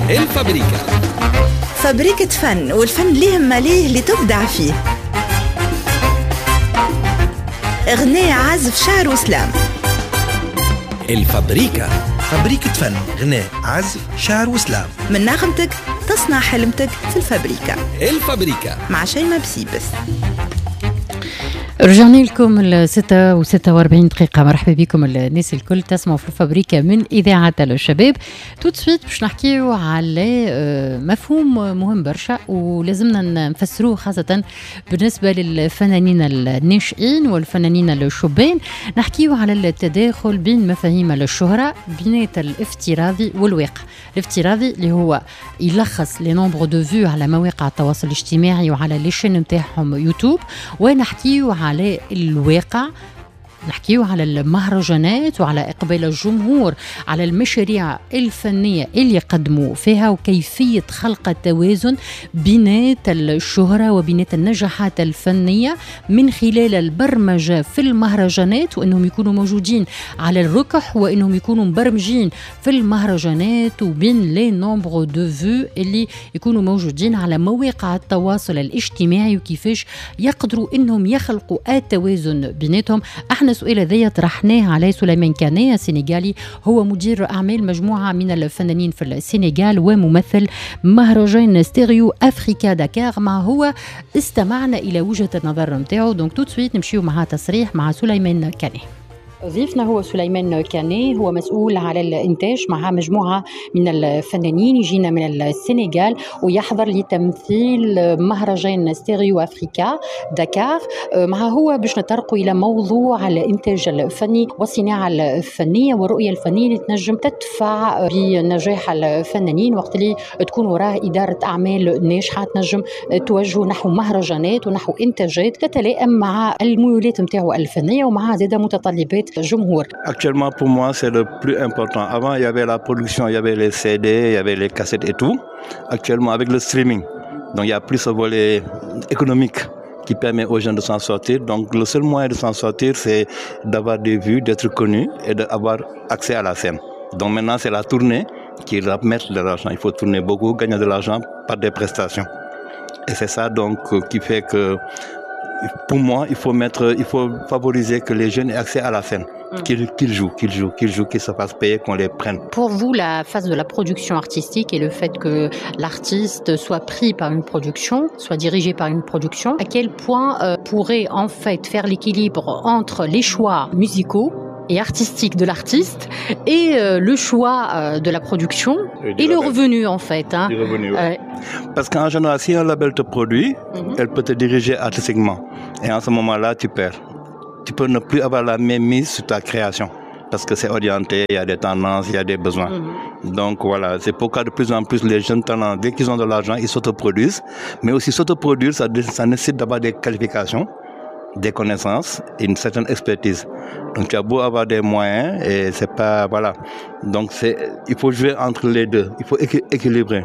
الفابريكا. فابريكة فن، والفن ليه ماليه اللي تبدع فيه. غناء، عزف، شعر و slam. الفابريكا. فابريكة فن، غناء، عزف، شعر و slam. من نغمتك تصنع حلمتك في الفابريكا. الفابريكا مع شيماء بسيبس. رجعنا لكم 6:46. مرحبا بكم الناس الكل تسمعوا في الفابريكا من إذاعة الشباب. tout de suite باش نحكيو على مفهوم مهم برشا ولازمنا نفسروه، خاصة بالنسبة للفنانين الناشئين والفنانين الشبان. نحكيو على التداخل بين مفاهيم الشهرة، بين الافتراضي والواقع. الافتراضي اللي هو يلخص les nombres de vues على مواقع التواصل الاجتماعي وعلى les chaînes نتاعهم يوتيوب، ونحكيو على الواقع، نحكيو على المهرجانات وعلى إقبال الجمهور على المشاريع الفنية اللي قدموا فيها، وكيفية خلق التوازن بينات الشهرة وبينات النجاحات الفنية من خلال البرمجة في المهرجانات، وأنهم يكونوا موجودين على الركح وأنهم يكونوا مبرمجين في المهرجانات، وبين les nombres de vues اللي يكونوا موجودين على مواقع التواصل الاجتماعي، وكيفاش يقدروا أنهم يخلقوا التوازن بيناتهم. احنا السؤال هذايا طرحناه على سليمان كاني السنغالي، هو مدير اعمال مجموعة من الفنانين في السنغال وممثل مهرجان ستيريو افريكا داكار. مع هو استمعنا الى وجهه النظر نتاعو. donc tout de suite نمشيو مع تصريح مع سليمان كاني. ضيفنا هو سليمان كاني، هو مسؤول على الإنتاج مع مجموعة من الفنانين يجينا من السنغال ويحضر لتمثيل مهرجان ستيريو أفريكا داكار. مع هو باش نطرقوا إلى موضوع الإنتاج الفني والصناعة الفنية والرؤية الفنية اللي تنجم تدفع بنجاح الفنانين وقت اللي تكون وراه إدارة أعمال ناجحة تنجم توجه نحو مهرجانات ونحو إنتاجات تتلائم مع الميولات نتاعو الفنية ومع زاد متطلبات جمهور. Actuellement, pour moi, c'est le plus important. Avant, il y avait la production, il y avait les CD, il y avait les cassettes et tout. Actuellement, avec le streaming, donc il y a plus ce volet économique qui permet aux gens de s'en sortir. Donc, le seul moyen de s'en sortir, c'est d'avoir des vues, d'être connu et d'avoir accès à la scène. Donc maintenant, c'est la tournée qui ramène de l'argent. Il faut tourner beaucoup, gagner de l'argent par des prestations. Et c'est ça donc qui fait que, pour moi, il faut favoriser que les jeunes aient accès à la scène, qu'ils jouent, qu'ils jouent, qu'ils jouent, qu'ils se fassent payer, qu'on les prenne. Pour vous, la phase de la production artistique et le fait que l'artiste soit pris par une production, soit dirigé par une production, à quel point pourrait en fait faire l'équilibre entre les choix musicaux et artistique de l'artiste et le choix de la production et et le label. Revenu en fait, hein. Du revenu, ouais. Parce qu'en général, si un label te produit, elle peut te diriger artistiquement. Et en ce moment-là, tu perds. Tu peux ne plus avoir la même mise sur ta création. Parce que c'est orienté, il y a des tendances, il y a des besoins. Donc voilà, c'est pourquoi de plus en plus les jeunes talents, dès qu'ils ont de l'argent, ils s'autoproduisent. Mais aussi s'autoproduire, ça nécessite d'avoir des qualifications, des connaissances et une certaine expertise. Donc tu as beau avoir des moyens et c'est pas, voilà. Donc il faut jouer entre les deux, il faut équilibrer.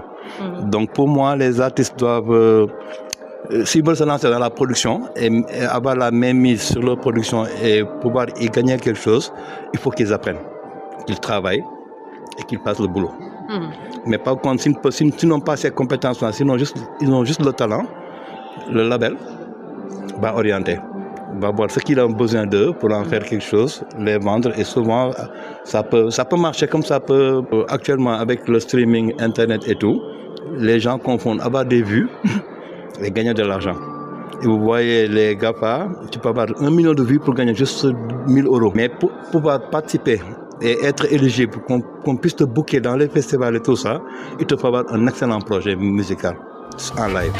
Donc pour moi, les artistes doivent, s'ils veulent se lancer dans la production et avoir la main mise sur leur production et pouvoir y gagner quelque chose, il faut qu'ils apprennent, qu'ils travaillent et qu'ils fassent le boulot. Mais par contre, s'ils n'ont pas ces compétences-là, sinon juste, ils ont juste le talent, le label va orienter, va voir ce qu'il a besoin d'eux pour en faire quelque chose, les vendre. Et souvent, ça peut marcher comme ça peut. Actuellement, avec le streaming, Internet et tout, les gens confondent avoir des vues et gagner de l'argent. Et vous voyez les GAFA, tu peux avoir 1 million de vues pour gagner juste 1000 euros. Mais pour pouvoir participer et être éligible, qu'on puisse te booker dans les festivals et tout ça, il te faut avoir un excellent projet musical en live.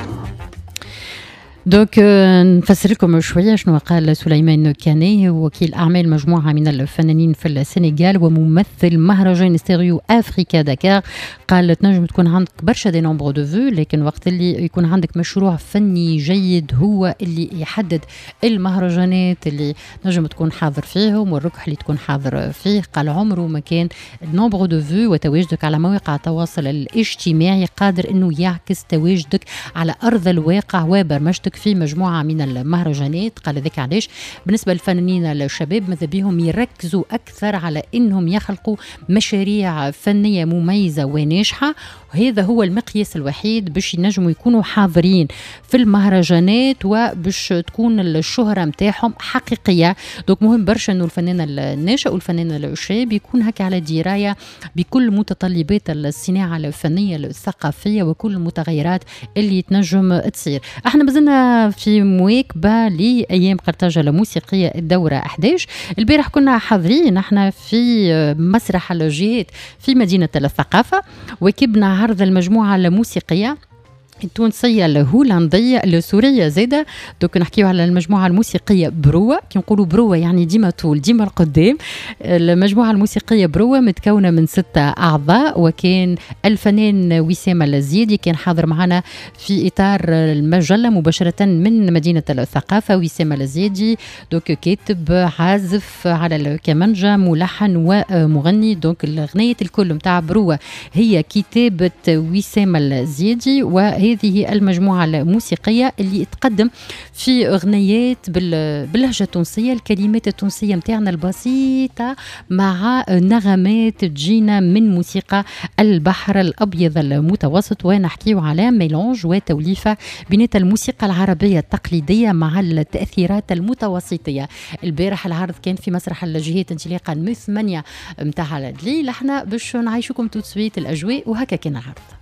Donc نفسر لكم شوية شنو قال سليمان كاني، وكيل اعمال مجموعة من الفنانين في السنغال وممثل مهرجان ستيريو افريكا داكار. قال تنجم تكون عندك برشا des nombres de vues، لكن وقت اللي يكون عندك مشروع فني جيد هو اللي يحدد المهرجانات اللي نجم تكون حاضر فيهم والركح اللي تكون حاضر فيه. قال عمره ما كان nombre de vues وتواجدك على مواقع التواصل الاجتماعي قادر انه يعكس تواجدك على ارض الواقع وبرمجتك. صوتك في مجموعة من المهرجانات. قال ذاك علاش بالنسبة للفنانين الشباب ماذا بهم يركزوا أكثر على أنهم يخلقوا مشاريع فنية مميزة وناجحة، وهذا هو المقياس الوحيد باش ينجموا يكونوا حاضرين في المهرجانات وباش تكون الشهرة متاعهم حقيقية. donc مهم برشا أنه الفنان الناشئ والفنان الشاب يكون هكا على دراية بكل متطلبات الصناعة الفنية الثقافية وكل المتغيرات اللي تنجم تصير. احنا مازلنا في مواكبة لأيام قرطاجة الموسيقية الدورة 11. البارح كنا حاضرين احنا في مسرح الجهات في مدينة الثقافة، واكبنا عرض المجموعة الموسيقية التونسية الهولندية السورية زادة. donc نحكيو على المجموعة الموسيقية بروة، كي نقولوا بروة يعني ديما طول ديما القدام. المجموعة الموسيقية بروة متكونة من 6 أعضاء، وكان الفنان وسام الزيدي كان حاضر معنا في إطار المجلة مباشرة من مدينة الثقافة. وسام الزيدي donc كاتب، عازف على الكمانجا، ملحن ومغني. donc الأغنية الكل متاع بروة هي كتابة وسام الزيدي، وهذه المجموعة الموسيقية اللي تقدم في أغنيات باللهجة التونسية، الكلمات التونسية متاعنا البسيطة مع نغمات تجينا من موسيقى البحر الأبيض المتوسط، ونحكيو على mélange وتوليفة بين الموسيقى العربية التقليدية مع التأثيرات المتوسطية. البارح العرض كان في مسرح الجهات انطلاقا من 8 متاع الليل. احنا باش نعيشكم tout de suite الأجواء، وهكا كان العرض.